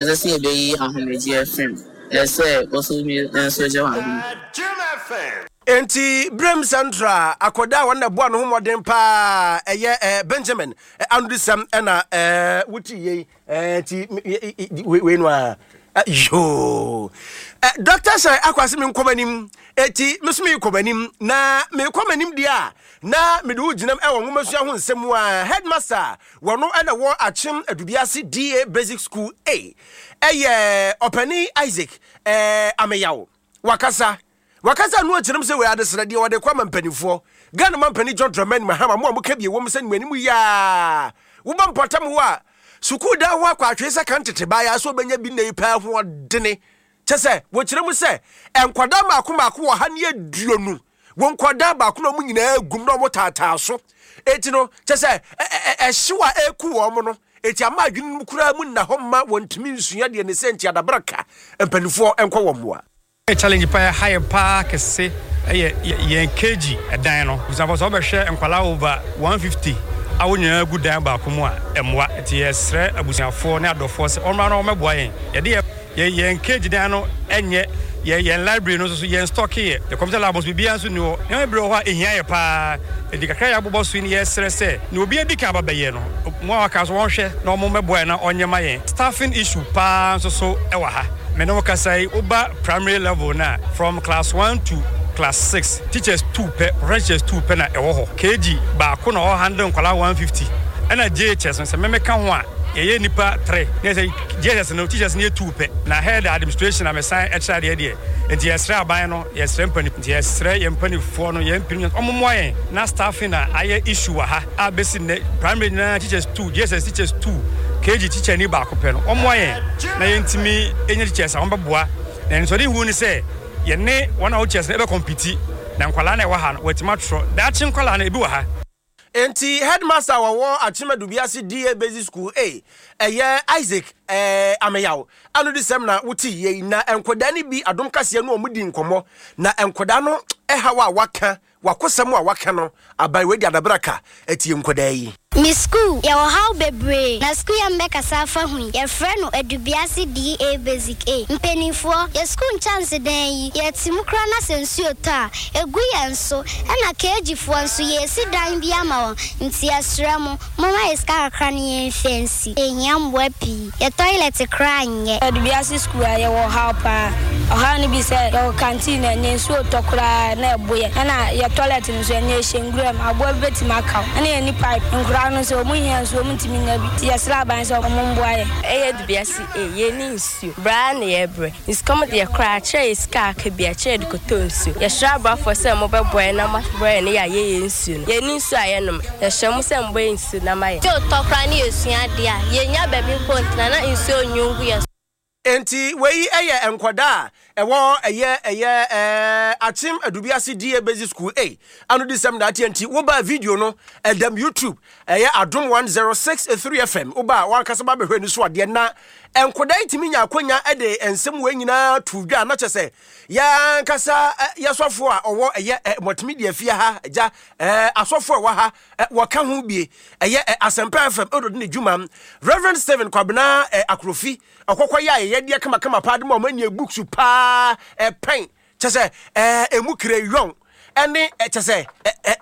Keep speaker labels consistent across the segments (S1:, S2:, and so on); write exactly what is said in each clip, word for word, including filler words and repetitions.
S1: Ɛsɛ sɛ yɛbɛyi ahomegyeɛ fam. Ɛsɛ sɛ ɔso mi nso gye w'ahome.
S2: Enti Brem Central akɔda a wɔn na ɛboa no ho mmɔden paa ɛyɛ ɛɛ Benjamin anodisɛm ɛna ɛɛ wotu yei ɛɛ nti wei no a yoo Doctor sɛ akwasi mi nkɔ m'anim, eti mi nso mi kɔ m'anim na mi kɔ m'anim deɛ a na mi de wo gyinam ɛwɔ nwomasua ho nsɛm a headmaster wɔn ɛna wɔ Akyem Adubiase D A Basic School A, ɛyɛ ɔpanin Isaac ɛɛ Ameyaw. Wakasa wakasa no akyerɛm sɛ wei adesrɛdeɛ wɔde kɔ ama mpanimfoɔ Ghana ma mpanin John Dramani Mahama mo a moka bi ɛwɔ mu sɛ nnuanim yaa woba mpɔtam hɔ a sukuu dan ho akɔ atwee sɛ kan tete baeɛ sɛ wobɛnya bi nna yi paa ho ɔdene kyɛ sɛ wɔkyerɛ mu sɛ nkwadaa maako maako wɔ ha ne aduonu wɔn nkwadaa baako na wɔn nyinaa gum na wɔn taataa so eti no kyɛ sɛ ɛhyew a ɛku wɔn no eti ama adwene mu koraa mu nna hɔ mma wɔntumi nsua deɛ ne sɛ nti adabraka mpanimfoɔ nkɔ wɔn mmoa.
S3: Challenge pa ha yɛ paa kɛse ɛyɛ yɛn K G ɛdan no. Busuafo, sɛ wɔbɛhwɛ nkwalaa over one fifty a wɔn nyinaa gu dan baako mu a, ɛmmoa. Nti yɛsrɛ abusuafoɔ ne adɔfoɔ sɛ ɔmmra na wɔmmɛboa yɛn. Yɛde yɛ yɛn K G dan no ɛnyɛ yɛ yɛn library no nso so yɛn stock yɛ yɛ computer lab nso biribiara nso ni hɔ. Nneɛma bebree wɔ hɔ a ehia yɛ paa. Edi kakra yɛ abobɔ so yi ni yɛsrɛ sɛ na obi adi kan aba bɛyɛ no mo a waka so wɔnhwɛ na wɔn mmɛboa yɛn na ɔnyɛ ma yɛn. Staffing issue paa nso so ɛwɔ ha. Mɛ ne wo kasa yi, woba primary level na from class one to class six, teachers two pɛ, professional teachers two pɛ na ɛwɔ hɔ. K G baako na ɔwɔ handle nkwadaa one fifty, ɛna J H S no sɛ mɛmɛka ho a yɛyɛ nipa three ne sɛ J S S no teachers no yɛ two pɛ na head administration na mesan ɛkyerɛ adeɛ deɛ. Nti yɛsrɛ aban no, yɛsrɛ mpani, nti yɛsrɛ yɛn mpanifoɔ no, yɛn mpani ɔmo mmoa yɛn na staffing na ayɛ issue wɔ ha a bɛsi nnɛ primary nyinaa teachers two, J S S teachers two, K G teacher ni baako pɛ no. Ɔmmoa yɛn na yɛntumi ɛnya teachers a wɔbɛboa na nsɔde hu ne sɛ yɛne wɔn a wɔn teachers no ɛbɛ compete na nkwalaa na ɛwɔ ha no wɔatumi atwerɛ daakye nkwalaa no ebi wɔ ha.
S2: Nti headmaster wɔwɔ Akyem Adubiase D A Basic School A, ɛyɛ Isaac ɛɛ Ameyaw anodisɛm na wote yie. Na nkwadaa no bi adom kaseɛ no wɔn di nkɔmmɔ na nkwadaa no ɛhaw a waka wakosɛm a waka no aban wei de adabraka ɛtie nkwadaa yi.
S4: Me school yɛwɔ haw bebree na school yɛ mbɛkasa afa ho yi, yɛfrɛ no Adubiase D A Basic A. Mpanimfoɔ, yɛ school nkyɛnsedan yi yɛte mu koraa na sɛ nsuo tɔ a egu yɛn so, ɛna K G foɔ nso yɛsi dan bi ama wɔn. Nti yɛsrɛ mo, momma yɛ sika kakra no yɛmfa nsi. Yɛhia mmoa pii, yɛ toilet koraa nyɛ.
S5: Adubiase school a yɛwɔ haw paa. Ɔhaw no bi sɛ yɛwɔ canteen na ɛnyɛ nsuo tɔ koraa na ɛbo yɛ, ɛna yɛ toilet no nso ɛnyɛ, ɛhyɛ nwura mu, aboa bi bɛtumi akaw, ɛna yɛni pipe. Nkoraa no nso ɔmo hia nsuo, ɔmo ntumi nya bi, nti yɛsrɛ aban sɛ ɔmo mboa yɛ.
S6: Ɛyɛ Adubiase A, yɛni nsuo braa na yɛbrɛ nsukɔm deɛ koraa kyerɛ yɛ sika aka bi a kyerɛ de kɔtɔ nsuo. Yɛsrɛ aboafoɔ sɛ mobɛboa yɛn na moaboa yɛn ne yɛayɛ yɛ nsuo no. Yɛni nsuo a yɛnom. Yɛhyɛ mo sɛ mbɔ yɛ nsuo na ma yɛ.
S4: Nsuo tɔ koraa ne yɛsua adeɛ a yɛnya baabi mpo ntena na nsuo nwu gu yɛ.
S2: Nti wei yɛ nkwadaa a ɛwɔ ɛyɛ ɛyɛ ɛɛ Akyem Adubiase D A Basic School A anodisɛm na ateɛ. Nti woba video no ɛdam YouTube, ɛyɛ Adom one zero six three F M. Woba a wankasa ba bɛhwɛ ni so adeɛ na nkwadaa yi tumi nya akonya de nsɛm wei nyinaa to dwa na kyɛ sɛ yɛankasa yɛsɔfo a ɔwɔ ɛyɛ multimedia fie ha gya ɛɛ asɔfo a ɛwɔ ha wɔka ho bie ɛyɛ Asɛmpa F M ɛdɔde ne dwuma, Reverend Stephen Kwabena Akrofi ɔkɔkɔ yɛ ayɛyɛdeɛ kamakama paa de ma ɔmo ani books paa ɛpɛn kyɛ sɛ ɛɛ emu crayon ɛne kyɛ sɛ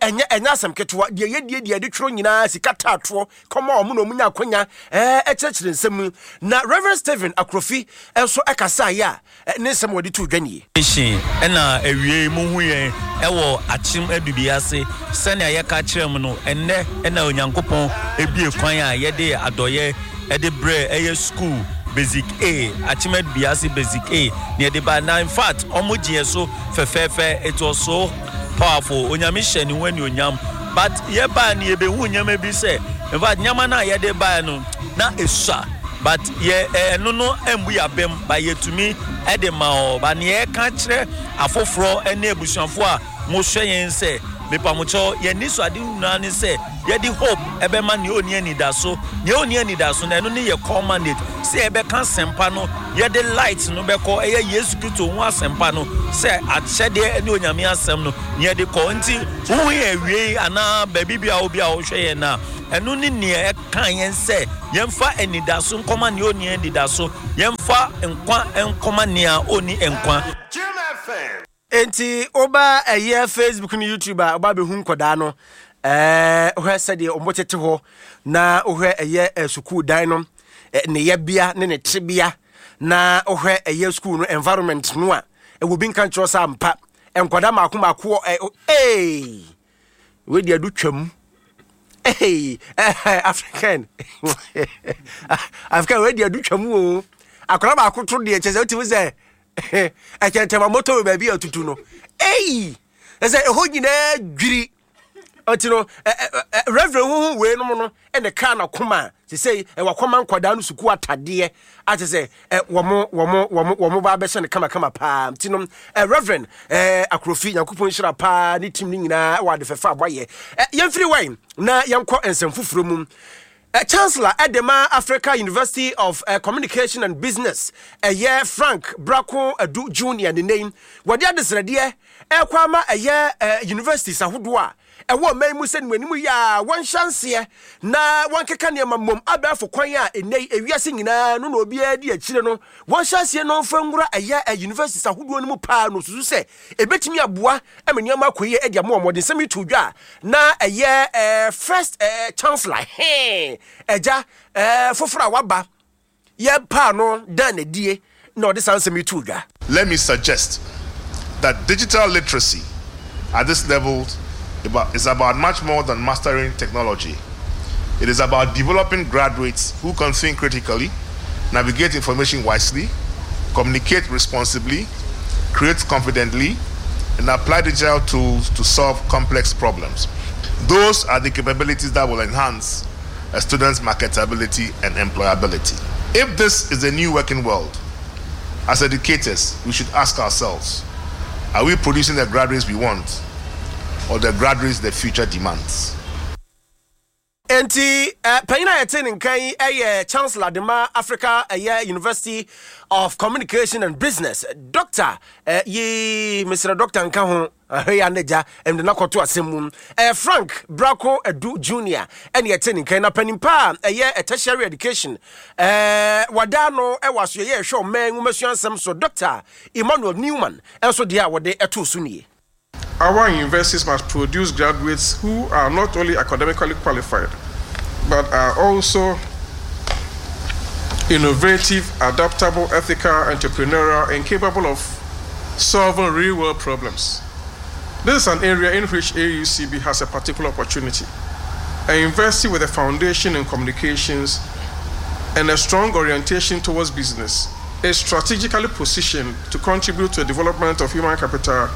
S2: ɛnyɛ ɛnyɛ asɛm ketewa deɛ yɛdie deɛ yɛde twerɛ nyinaa sika taatoɔ kɔma ɔmo na ɔmo nya akonya ɛɛ ɛkyerɛkyerɛ nsɛm mu. Na Reverend Stephen Akrofi nso ɛkasa yɛ a ne nsɛm wɔde to dwa nie.
S7: Ɛna awie mu hu yɛn ɛwɔ Akyem Adubiase sɛnea yɛka kyerɛ mu no, ɛnnɛ ɛna Onyankopɔn ebie kwan a yɛde adɔyɛ ɛde brɛ ɛyɛ school basic A, Akyem Adubiase Basic A na yɛde ba. Na in fact ɔmo gye yɛ so fɛfɛɛfɛ. It was so powerful. Onyame hyɛ ne ho anuonyam, but yɛbaa no yɛbɛhu nneɛma bi sɛ in fact nneɛma no a yɛde baa no na esua, but yɛ ɛno no mbu yɛ abɛm ba yɛtumi ɛde ma ɔ ba. Nea yɛka kyerɛ afoforɔ ne abusuafoɔ a mohwɛ yɛn sɛ Mepamokyɛw, yɛn anisoade nyinaa ne sɛ yɛde hope ɛbɛma nea ɔnni anidaso. Nea ɔnni anidaso no, ɛno ne yɛ core mandate, sɛ yɛbɛka asɛmpa no, yɛde light no bɛkɔ, ɛyɛ Yesu Kristo ho asɛmpa no, sɛ akyɛdeɛ ne Onyame asɛm no ne yɛde kɔ. Nti wohu yɛn awiei anaa baabi bi a obi a wohwɛ yɛn a, ɛno ne nea ɛka yɛn sɛ yɛmfa anidaso nkɔma nea ɔnni anidaso, yɛmfa nkwa nkɔma nea ɔnni nkwa.
S2: Enti woba ɛyɛ Facebook ne YouTube a, woba bɛhu nkɔdaa no, ɛɛ wohwɛ sɛdeɛ wɔn tete hɔ, na wohwɛ ɛyɛ sukuu dan no ne yɛbea ne ne tebea, na wohwɛ ɛyɛ sukuu no environment no a, ɛwɔ bi nka nkyerɛ sɛ ampa nkɔdaa mako mako ɛ ee wei deɛ do twam. Hey, African African wei deɛ do twam o. Akwadaa baako to deɛ kyɛ sɛ wotumi sɛ ɛkyɛntɛma moto baabi a tutu no, ei, ɛsɛ ɛhɔ nyinaa dwiri. Ɔti no Reverend huhu wei nom no ɛna kaa na koma sesei ɛwɔ akɔma nkwadaa no sukuu atadeɛ ate sɛ wɔn wɔn wɔn wɔn ba abɛhyɛ no kamakama paa. Nti no Reverend ɛɛ Akorofi, Nyankopɔn nhyira paa ne team no nyinaa ɛwɔ ade fɛfɛ a wɔayɛ. Yɛmfiri wɛn na yɛnkɔ nsɛm foforɔ mu. Chancellor ɛde ma Africa University of uh, Communication and Business, ɛyɛ Frank Brako Adu Junior, ne name wɔde adesrɛdeɛ ɛkɔ ama ɛyɛ uh, universities ahodoɔ a ɛwɔ ɔman mu sɛ nimu yɛ a wɔnhyɛ nseɛ na wɔnkeka nneɛma mmom abɛɛfo kwan a ɛnɛ yi ewiase nyinaa no na obiara di akyire no, wɔnhyɛ aseɛ no mfa nwura ɛyɛ universities ahodoɔ no mu paa no, susu sɛ ɛbɛtumi aboa ma nneɛma akɔ yie de ama wɔn. Wɔde nsɛm yi to dwa a na ɛyɛ ɛɛ first ɛɛ chancellor hee ɛgya ɛɛ foforɔ a waba yɛ paa no dan n'adie na ɔde saa nsɛm yi to dwa.
S8: Let me suggest that digital literacy at this level is about much more than mastering technology. It is about developing graduates who can think critically, navigate information wisely, communicate responsibly, create confidently, and apply digital tools to solve complex problems. Those are the capabilities that will enhance a student's marketability and employability. If this is a new working world, as educators, we should ask ourselves, are we producing the graduates we want or the graduates the future demands?
S2: Enti eh, panyin a yɛte ne nkan yi yɛ Chancellor de ma Africa ɛyɛ University of Communication and Business, Doctor eh, yi mesrɛ Doctor nka ho ahwɛ yi anagya ɛmde no akɔto asɛm mu, eh, Frank Brako Adu Junior ɛne yɛte ne nkan. Na panin pa a ɛyɛ tertiary education eh, wada no ɛwɔ asoɛyɛ ɛhwɛ ɔman nwomasua nsɛm so, Doctor Emmanuel Newman, ɛnso deɛ a wɔde ɛtoo so nie.
S9: Our universities must produce graduates who are not only academically qualified, but are also innovative, adaptable, ethical, entrepreneurial, and capable of solving real-world problems. This is an area in which A U C B has a particular opportunity. A university with a foundation in communications and a strong orientation towards business is strategically positioned to contribute to the development of human capital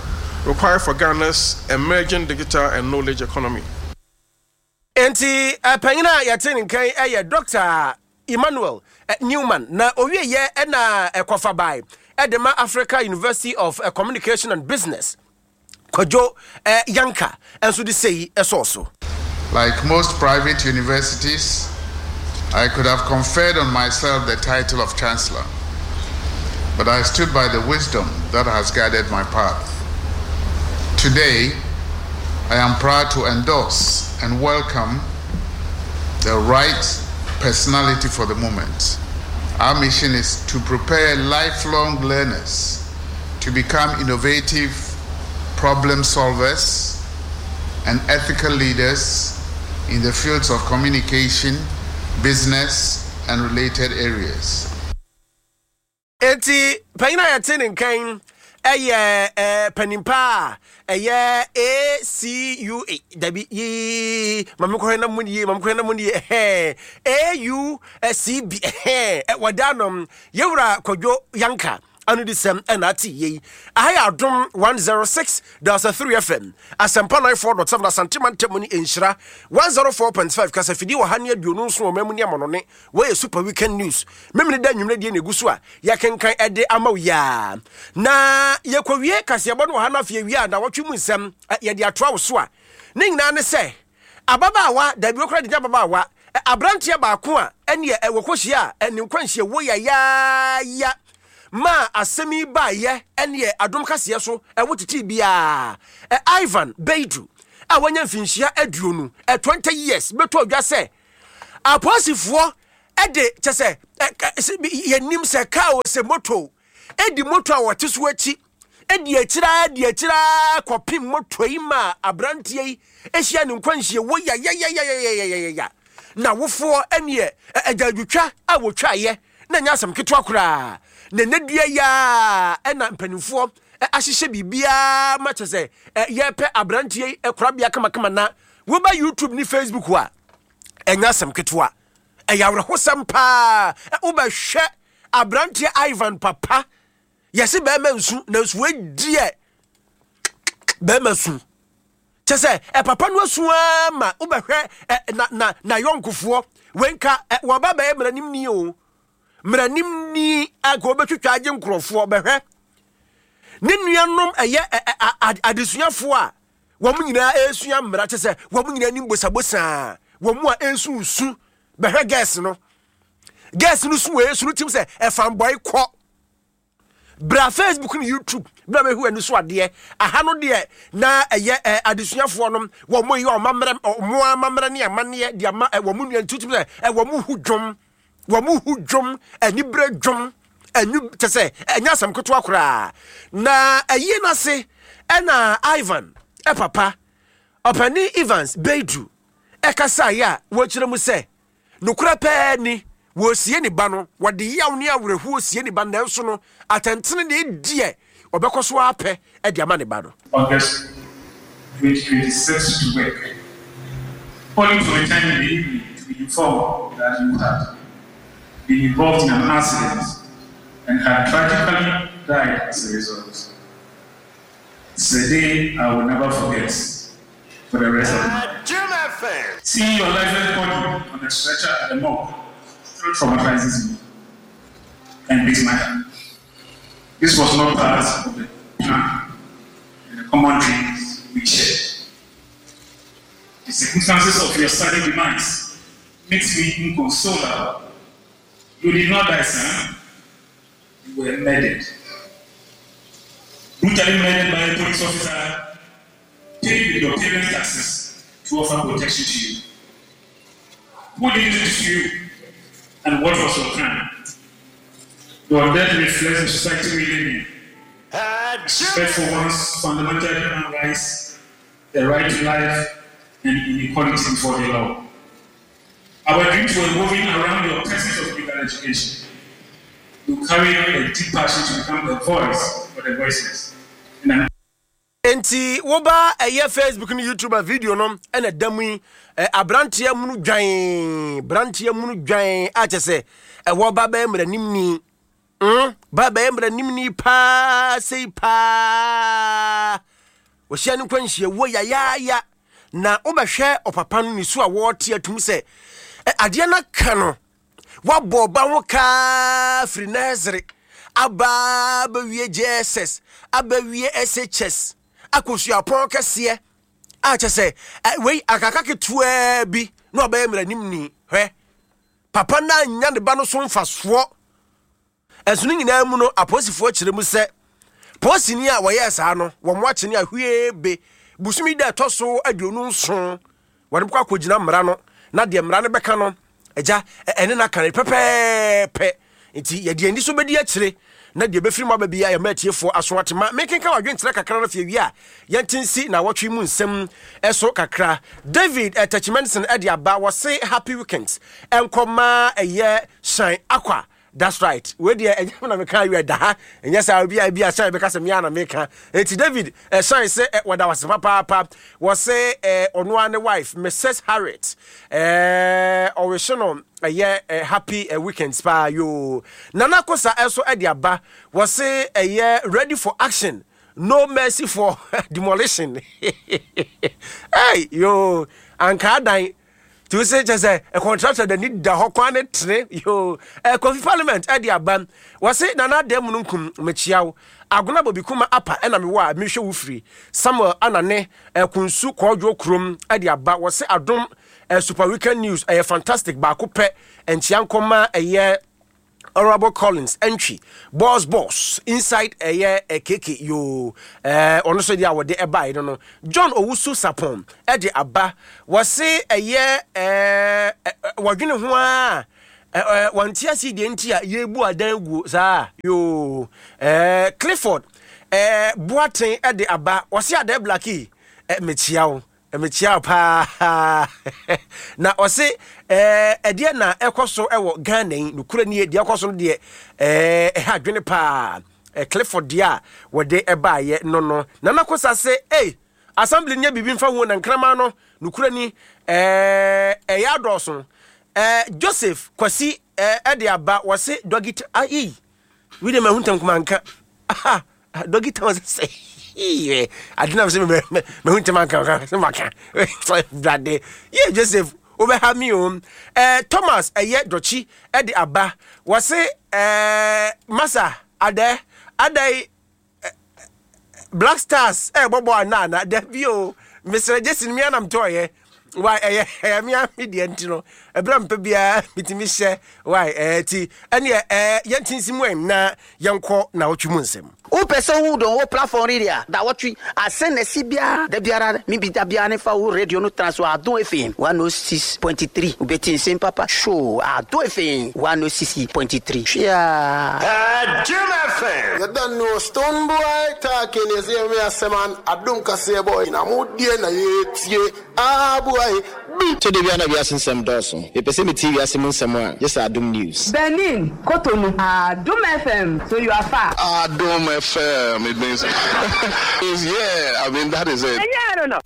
S9: required for Ghana's emerging digital and knowledge economy.
S2: Enti panyin a yɛte ne nkan yɛ Doctor Emmanuel Newman, na owie yɛ na ɛkɔfa bae ɛde ma Africa University of Communication and Business, Kwadwo Yanka nso de sei ɛsɔɔ so.
S10: Like most private universities, I could have conferred on myself the title of Chancellor, but I stood by the wisdom that has guided my path. Today, I am proud to endorse and welcome the right personality for the moment. Our mission is to prepare lifelong learners to become innovative problem solvers and ethical leaders in the fields of communication, business, and related areas.
S2: Enti panyin a yɛte ne nkan ɛyɛ ɛɛ panimpa a ɛyɛ A C U A dabi yii maame kɔhɛ na mu yie maame kɔhɛ na mu yie ɛhɛn A U C B ɛhɛn wɔda nom yɛwura Kwadwo Yanka ano di sɛm ɛna ate yie. Aha yɛ Adom one zero six dot three F M, Asɛmpa nine four dot seven, Asante Mantam ne Nhyira one zero four point five, kasafidie wɔ ha ne aduonu nson wɔ mamu ne amanɔne. Wɔyɛ Super Weekend News memene da nnwumire deɛ na egu so a yɛkenkan ɛde ama wo yaa. Na yɛkɔwie kaseɛbɔ no wɔ ha no afei wie a na wɔtwe mu nsɛm yɛde atoa wo so a Ne nyinaa ne sɛ ababaawa, dabi, wɔkora de nya ababaawa, aberanteɛ baako a ɛneɛ wɔkɔhyia a ne nkwanhyia wɔ yayaaya ma asɛm yi baayɛ, ɛneɛ Adom Kaseɛ so ɛwo tete biara, Ivan Beidu a wanya mfinhyia aduonu, twenty years, bɛtɔ dwa sɛ apolisifoɔ ɛde kyɛ sɛ yɛnim sɛ kaa o sɛ moto ɛdi moto a wɔte so akyi, ɛdi akyira di akyira kɔpem moto yi ma aberanteɛ yi ahyia ne nkwanhyia wɔ yayayayayayaya. Na wofoɔ ɛneɛ agyadwotwa a wɔtwaeɛ na nyɛ asɛm ketewa koraa, na ne dua yaa ɛna mpanimfoɔ ahyehyɛ biribiara ma kyɛ sɛ yɛpɛ aberanteɛ yi korabea kamakama. Na woba YouTube ne Facebook a, ɛnyɛ asɛm ketewa, ɛyɛ awerɛhosɛm paa. Wobɛhwɛ aberanteɛ Ivan papa, yɛse bɛrima nsu, nanso wadiɛ bɛrima su kyɛ sɛ ɛpapa no asu ara ma wobɛhwɛ na na na yɔnkofoɔ wenka wɔba bɛyɛ mmaranim ni o, mmaranim ni a nka wɔbɛtwitwa agye nkurɔfoɔ. Bɛhwɛ ne nuanom, ɛyɛ adesuafoɔ a wɔn nyinaa ɛresua mmara, kyɛ sɛ wɔn nyinaa nim bosabosaa, wɔn mu a ɛresu nsu. Bɛhwɛ girls no girls no su wɔ esu no tim sɛ ɛfanbɔe kɔ. Bra Facebook ne YouTube bra bɛhu ani so adeɛ aha no deɛ, na ɛyɛ ɛ adesuafoɔ no wɔn mo yɛ ɔmammerɛ, ɔmo amammerɛ ne amanneɛ de ama ɛ wɔn nua ntutum sɛ ɛ wɔn mo hu dwom, wɔn mo hu dwom, anibere dwom ɛnu kyɛ sɛ ɛnyɛ asɛm ketewa koraa. Na ɛyie n'ase ɛna Ivan ɛpapa ɔpanin Evans Beidu ɛkasaeɛ a wɔkyerɛ mu sɛ nokorɛ pɛɛ ni, wɔresie ne ba no, wɔde yaw ne awerɛhoɔ sie ne ba no, nanso no atɛntene ne deɛ ɔbɛkɔ so apɛ de ama ne ba no.
S11: August twenty twenty-six to work, only to return in the evening to be informed that you had been involved in an accident and had tragically died as a result. It's a day I will never forget for the rest of my life. Seeing your lifeless body on the stretcher at the morgue still traumatizes me and breaks my heart. This was not part of the plan and the common dreams we shared. The circumstances of your sudden demise makes me inconsolable. You did not die, son. You were murdered. Brutally murdered by a police officer paid with your parents' taxes to offer protection to you. Who did this to you? And what was your crime? Your death reflects the society we live in. Respect for one's fundamental human rights, the right to life, and inequality before the law. Our dreams were woven around your pursuit of legal education. You carried a deep passion to become a voice for the voiceless. And an
S2: Nti woba ɛyɛ Facebook ne YouTube a, video no ɛna da mu yi, aberanteɛ munu dwan, beranteɛ munu dwan a kyɛ sɛ ɛwɔ ba bɛyɛ mmaranim ni mm, ba bɛyɛ mmaranim ni paa sei paa, wɔhyia no nkwanhyia wɔ yayaaya. Na wobɛhwɛ ɔpapa no ne su a wɔrete atum sɛ adeɛ no ka no, wabɔ ɔba ho kaa firi nursery aba bɛwie J S S, abɛwie S H S, akɔ suapɔn kɛseɛ a kyɛ sɛ wei akaka ketewaa bi na ɔbɛyɛ mmaranim ni. Hwɛ papa no anya ne ba no so mfasoɔ. Ɛnso no nyinaa mu no, apolisifoɔ kyerɛ mu sɛ polisini a wɔyɛɛ saa no, wɔn mo akye ne ahwie be busumi da ɛtɔ so aduonu nson, wɔde kɔ akɔgyina mmara no, na deɛ mmara no bɛka no, agya, ɛne no aka no pɛpɛɛpɛ. Nti yɛde ani so bɛdi akyire na deɛ bɛfiri mu aba bia, yɛma atiefoɔ aso ate. Ma mekenka wadwenkyerɛ kakra no fie wie a, yɛnte nsi na wɔtwe mu nsɛm ɛso kakra. David Tachimenson ɛde aba, wɔse happy weekends ɛnkɔma ɛyɛ Shine Akwa. That's right, wei deɛ ɛnyɛ na meka awie da ha, ɛnyɛ sɛ obi a bi a Shine bɛka sɛ mea na meka. Enti David ɛhyɛn sɛ wɔda wase papaapa. Wɔse ɔno ara ne wife Missus Harriet ɛɛ ɔrehye no ɛyɛ happy weekends paa yoo. Nana Kosa ɛso ɛde aba, wɔse ɛyɛ ready for action, no mercy for demolition. Hey yoo, anka adan Nti wo sɛ kyɛ sɛ contractor da ni da hɔ kwan ne tene yo. Kofi Parliament ɛde aba, wɔse Nana Ada mu no nkum mekyia wo. Agona Bobi Kuma apa ɛna mewɔ a mehwɛ wo firi Samuel Anane Kunsu Kɔɔdwo kurom ɛde aba. Wɔse Adom Super Weekend News ɛyɛ fantastic baako pɛ. Nkyia nkɔma ɛyɛ Honorable Collins Entry Boss Boss inside ɛyɛ keke yo. Ɔno so deɛ a wɔde ɛbaeɛ no no John Owusu Sapon ɛde aba. Wɔse ɛyɛ ɛɛ wɔdwene ho a wɔnte ase deɛ nti a yɛbu adan guo saa yo. Ɛɛ Clifford ɛɛ Boaten ɛde aba. Wɔse Adan Blackie mekyia wo, mekyia paa. Na ɔse ɛɛ ɛdeɛ na ɛkɔ so ɛwɔ Ghana yi nokura nie, deɛ ɛkɔ so no deɛ ɛɛ ɛha adwene paa. Clifford deɛ a wɔde ɛbaayɛ no no Nana Kosa se ei assembly nyɛ biribi mfa ho na nkraman no nokura ni ɛɛ ɛyɛ adɔɔso. Ɛɛ Joseph Kwasi ɛɛ ɛde aba. Wɔse doggy ayi wi de ma hu ntɛm kuma nka aha doggy town sɛ ade nam sɛ mehu ntɛm anka sɛ maka brade yɛ Joseph wobɛha mi o. eh, Thomas ɛyɛ dɔkyi ɛde aba. Wɔse eh, masa adɛ adɛ Black Stars ɛbɔbɔ ana ana dabi o mesrɛ Jason mi anam tɔɔyɛ wai ɛyɛ ɛyɛ mi ami deɛ nti no ɛbrɛ mpɛ biara mitimi hyɛ wai ɛɛ ti ɛneɛ ɛɛ yɛnti nsi mu ɛn na yɛnkɔ na ɔtwi mu nsɛm.
S12: Wopɛ sɛ wo dɔn wo platform ni deɛ da wɔtwe asɛn na ɛsi biara da biara mi bi da biara ne fa wo radio no tena so Adom F M one oh six point three, wobɛti nsɛm papa show Adom F M one oh six point three hwea.
S13: Jim F M.
S14: You don't know Stonebwoy talking, you see me as a man, Adom Kaseɛ boy, na mo die na ye tie, ah boy,
S15: bi. So de bia na wiase nsɛm dɔɔso. Mepɛ sɛ metie wiase mu nsɛm a, gye sɛ Adom News.
S16: Benin, Cotonou, Adom F M, so you are far.
S17: Adom F M, it means, yeah, I mean, that is it.
S16: Yeah, I don't know.